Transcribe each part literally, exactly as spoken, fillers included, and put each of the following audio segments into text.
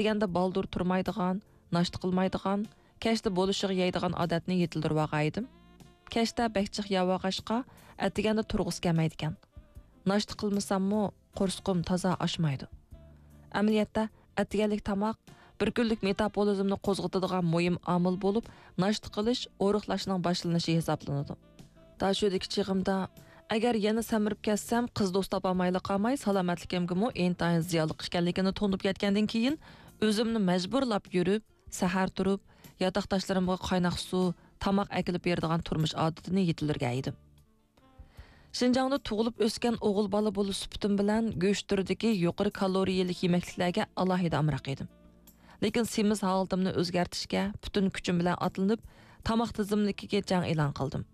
ئەتىگەندە بالدۇر تۇرمايدىغان، ناشتا قىلمايدىغان، كەچتە بولۇشىغا يەيدىغان ئادەتنى يېتىلدۈرۈۋالغانىدىم. كەچتە بەك جىق يەۋالغاچقا، ئەتىگەندە تۇرغۇسى كەلمەيدىكەن. ناشتا قىلمىساممۇ، قورسىقىم تازا ئاچمايدۇ. ئەمەلىيەتتە، ئەتىگەنلىك تاماق بىر كۈنلۈك مېتابولىزمنى قوزغىتىدىغان مۇھىم ئامىل بولۇپ، ناشتا قىلىش ئورۇقلاشنىڭ باشلىنىشى ھېسابلىنىدۇ. داشۆدىكى چېغىمدا، ئەگەر يەنە سەمرىپ كەتسەم، قىز دوست تاپالمايلا قالماي، سالامەتلىكىمگىمۇ ئىنتايىن زىيانلىق ئىكەنلىكىنى تونۇپ يەتكەندىن كېيىن، ئۆزۈمنى مەجبۇرلاپ يۈرۈپ، سەھەر تۇرۇپ، ياتاقداشلىرىمغا قايناق سۇ، تاماق ئەكېلىپ بېرىدىغان تۇرمۇش ئادىتىنى يېتىلدۈرگەن ئىدىم. شىنجاڭدا تۇغۇلۇپ ئۆسكەن ئوغۇل بالا بولۇش سۈپىتىم بىلەن گۆش تۈرىدىكى يۇقىرى كالورىيەلىك يېمەكلىكلەرگە ئالاھىدە ئامراق ئىدىم. لېكىن سېمىز ھالىتىمنى ئۆزگەرتىشكە پۈتۈن كۈچۈم بىلەن ئاتلىنىپ، تاماق تىزىملىكىگە جەڭ ئېلان قىلدىم.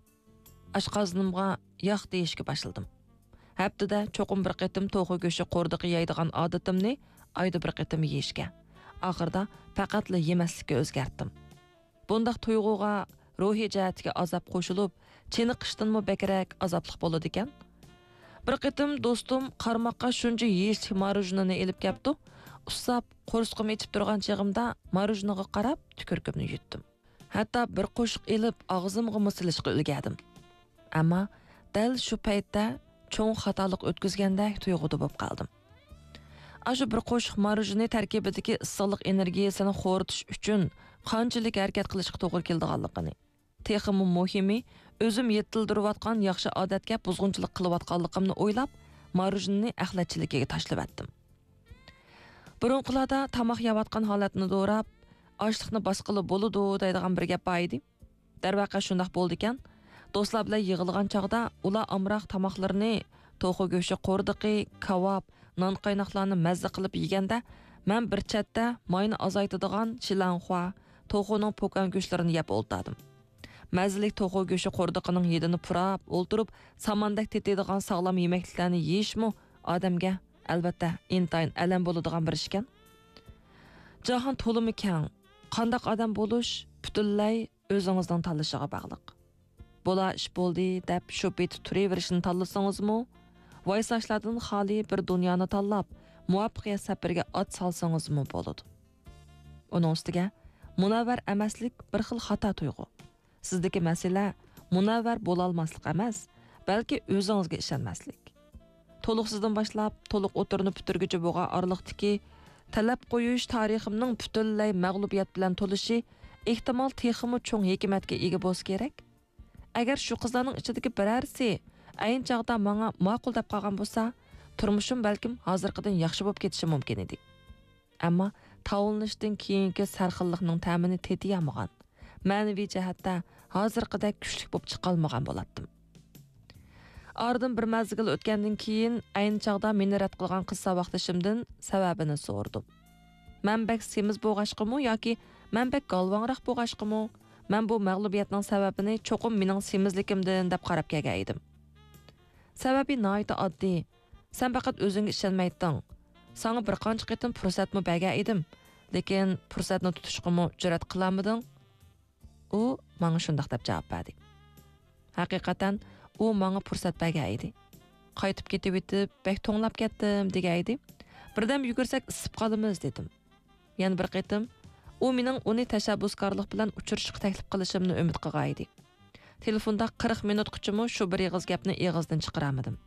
ئاشقازىنىمغا ياق دېيىشكە باشلىدىم. ھەپتىدە چوقۇم بىر قېتىم توخۇ گۆشى قوردىقى يەيدىغان ئادىتىمنى ئايدا بىر قېتىم يېيىشكە، ئاخىرىدا پەقەتلا يېمەسلىككە ئۆزگەرتتىم. بۇنداق تۇيغۇغا روھىي جەھەتتىكى ئازاب قوشۇلۇپ، چېنىقىشتىنمۇ بەكرەك ئازابلىق بولىدىكەن. بىر قېتىم دوستۇم قارىماققا شۇنچە يېيىشلىك ماروژنىنى ئېلىپ كەپتۇ. ئۇسساپ، قورسىقىم ئېچىپ تۇرغان چېغىمدا ماروژنىغا قاراپ تۈكۈرۈكۈمنى يۇتتۇم. ھەتتا بىر قوشۇق ئېلىپ ئاغزىمغىمۇ سېلىشقا ئۈلگەردىم. ئەمما دەل شۇ پەيتتە چوڭ خاتالىق ئۆتكۈزگەندەك تۇيغۇدا بولۇپ قالدىم. ئاشۇ بىر قوشۇق ماروژنى تەركىبىدىكى ئىسسىقلىق ئېنېرگىيىسىنى خورىتىش ئۈچۈن قانچىلىك ھەرىكەت قىلىشقا توغرا كېلىدىغانلىقىنى، تېخىمۇ مۇھىمى، ئۆزۈم يېتىلدۈرۈۋاتقان ياخشى ئادەتكە بۇزغۇنچىلىق قىلىۋاتقانلىقىمنى ئويلاپ، ماروژنىنى ئەخلەتچىلىكىگە تاشلىۋەتتىم. بۇرۇنقىلاردا تاماق يەۋاتقان ھالەتنى دوراپ، ئاشلىقنى باسقىلى بولىدۇ دەيدىغان بىر گەپ بار ئىدى. دەرۋەقە شۇنداق بولىدىكەن. دوستلار بىلەن يىغىلغان چاغدا ئۇلار ئامراق تاماقلىرىنى، توخۇ گۆشى قوردىقى، كاۋاپ، نان قايناقلارنى مەززە قىلىپ يېگەندە، مەن بىر چەتتە ماينى ئازايتىدىغان شىلانخۇا، توخۇنىڭ پوكان گۆشلىرىنى يەپ ئولتۇردۇم. مەززىلىك توخۇ گۆشى قوردىقىنىڭ ھىدىنى پۇراپ ئولتۇرۇپ، ساماندەك تېتىيدىغان ساغلام يېمەكلىكلەرنى يېيىشمۇ ئادەمگە، ئەلۋەتتە، ئىنتايىن ئەلەم بولىدىغان بىر ئىشكەن. جاھان تولىمۇ كەڭ. قانداق ئادەم بولۇش پۈتۈنلەي ئۆزىڭىزنىڭ تاللىشىغا باغلىق. بولا ئىش بولدى دەپ شۇ پېتى تۇرۇۋېرىشنى تاللىسىڭىزمۇ، ۋايساشلاردىن خالىي بىر دۇنيانى تاللاپ، مۇۋەپپەقىيەت سەپىرىگە ئات سالسىڭىزمۇ بولىدۇ. ئۇنىڭ ئۈستىگە، مۇنەۋۋەر ئەمەسلىك بىر خىل خاتا تۇيغۇ. سىزدىكى مەسىلە مۇنەۋۋەر بولالماسلىق ئەمەس، بەلكى ئۆزىڭىزگە ئىشەنمەسلىك. تولۇقسىزدىن باشلاپ تولۇق ئوتتۇرىنى پۈتتۈرگۈچە بولغان ئارىلىقتىكى تەلەپ قويۇش تارىخىمنىڭ پۈتۈنلەي مەغلۇبىيەت بىلەن تولۇشى ئېھتىمال تېخىمۇ چوڭ ھېكمەتكە ئىگە بولسا كېرەك. ئەگەر شۇ قىزلارنىڭ ئىچىدىكى بىرەرسى ئەينى چاغدا ماڭا ماقۇل دەپ قالغان بولسا، تۇرمۇشۇم بەلكىم ھازىرقىدىن ياخشى بولۇپ كېتىشى مۇمكىن ئىدى. ئەمما تاۋلىنىشتىن كېيىنكى سەرخىللىقنىڭ تەمىنى تېتىيالمىغان، مەنىۋى جەھەتتە ھازىرقىدەك كۈچلۈك بولۇپ چىقالمىغان بولاتتىم. ئارىدىن بىر مەزگىل ئۆتكەندىن كېيىن، ئەينى چاغدا مېنى رەت قىلغان قىز ساۋاقدىشىمدىن سەۋەبىنى سورىدىم. مەن بەك سېمىز بولغاچقىمۇ ياكى مەن بەك گالۋاڭراق بولغاچقىمۇ، مەن بۇ مەغلۇبىيەتنىڭ سەۋەبىنى چوقۇم مېنىڭ سېمىزلىكىمدىن دەپ قاراپ كەلگەن ئىدىم. سەۋەبى ناھايىتى ئاددىي. سەن پەقەت ئۆزۈڭگە ئىشەنمەيتتىڭ. ساڭا بىر قانچە قېتىم پۇرسەتمۇ بەرگەن ئىدىم، لېكىن پۇرسەتنى تۇتۇشقىمۇ جۈرئەت قىلالمىدىڭ. ئۇ ماڭا شۇنداق دەپ جاۋاب بەردى. ھەقىقەتەن، ئۇ ماڭا پۇرسەت بەرگەن ئىدى. قايتىپ كېتىۋېتىپ، بەك توڭلاپ كەتتىم، دېگەن ئىدى. بىردەم يۈگۈرسەك ئىسسىپ قالىمىز، دېدىم. يەنە بىر قېتىم، ئۇ مېنىڭ ئۇنى تەشەببۇسكارلىق بىلەن ئۇچرىشىشقا تەكلىپ قىلىشىمنى ئۈمىد قىلغان ئىدى. تېلېفوندا قىرىق مىنۇتقىچىمۇ شۇ بىر ئېغىز گەپنى ئېغىزدىن چىقىرالمىدىم.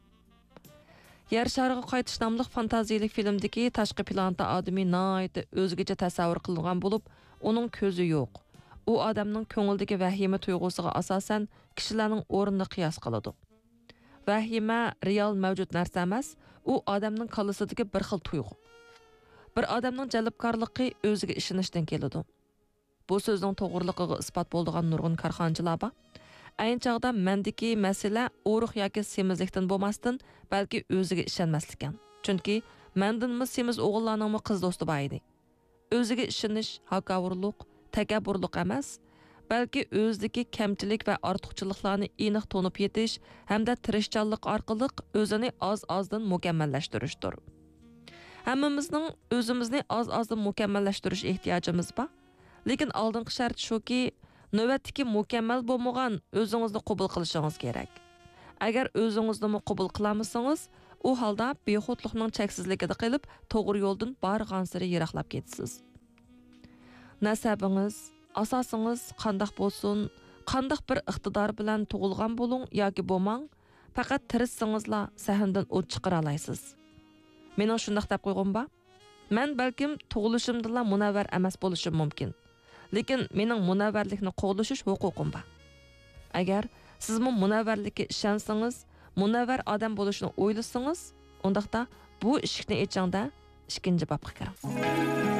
يەر شارىغا قايتىش ناملىق فانتازىيىلىك فىلىمدىكى تاشقى پلانېتا ئادىمى ناھايىتى ئۆزگىچە تەسەۋۋۇر قىلىنغان بولۇپ، ئۇنىڭ كۆزى يوق. ئۇ ئادەمنىڭ كۆڭلىدىكى ۋەھىمە تۇيغۇسىغا ئاساسەن كىشىلەرنىڭ ئورنىنى قىياس قىلىدۇ. ۋەھىمە رېئال مەۋجۇت نەرسە ئەمەس، ئۇ ئادەمنىڭ كاللىسىدىكى بىر خىل تۇيغۇ. بىر ئادەمنىڭ جەلپكارلىقى ئۆزىگە ئىشىنىشتىن كېلىدۇ. بۇ سۆزنىڭ توغرىلىقىغا ئىسپات بولىدىغان نۇرغۇن كارخانىچىلار بار. ئەينى چاغدا مەندىكى مەسىلە ئورۇق ياكى سېمىزلىكتىن بولماستىن، بەلكى ئۆزىگە ئىشەنمەسلىككەن. چۈنكى مەندىنمۇ سېمىز ئوغۇللارنىڭمۇ قىز دوستى بار ئىدى. ئۆزىگە ئىشىنىش ھاكاۋۇرلۇق، تەكەببۇرلۇق ئەمەس، بەلكى ئۆزىدىكى كەمچىلىك ۋە ئارتۇقچىلىقلارنى ئېنىق تونۇپ يېتىش ھەمدە تىرىشچانلىق ئارقىلىق ئۆزىنى ئاز-ئازدىن مۇكەممەللەشتۈرۈشتۇر. ھەممىمىزنىڭ ئۆزىمىزنى ئاز-ئازدىن مۇكەممەللەشتۈرۈش ئېھتىياجىمىز بار. لېكىن ئالدىنقى شەرت شۇكى، نۆۋەتتىكى مۇكەممەل بولمىغان ئۆزىڭىزنى قوبۇل قىلىشىڭىز كېرەك. ئەگەر ئۆزىڭىزنىمۇ قوبۇل قىلالمىسىڭىز، ئۇ ھالدا بىخۇدلۇقنىڭ چەكسىزلىكىدە قېلىپ، توغرا يولدىن بارغانسېرى يىراقلاپ كېتىسىز. نەسەبىڭىز، ئاساسىڭىز قانداق بولسۇن، قانداق بىر ئىقتىدار بىلەن تۇغۇلغان بولۇڭ ياكى بولماڭ، پەقەت تىرىشسىڭىزلا سەھنىدىن ئوت چىقىرالايسىز. مېنىڭ شۇنداق دەپ قويغۇم بار. مەن بەلكىم تۇغۇلۇشۇمدىلا مۇنەۋۋەر ئەمەس بولۇشۇم مۇمكىن. لېكىن مېنىڭ مۇنەۋۋەرلىكنى قوغلىشىش ھوقۇقۇم بار. ئەگەر سىزمۇ مۇنەۋۋەرلىككە ئىشەنسىڭىز، مۇنەۋۋەر ئادەم بولۇشنى ئويلىسىڭىز، ئۇنداقتا بۇ ئىشىكنى ئېچىڭ-دە، ئىككىنچى بابقا كىرىڭ.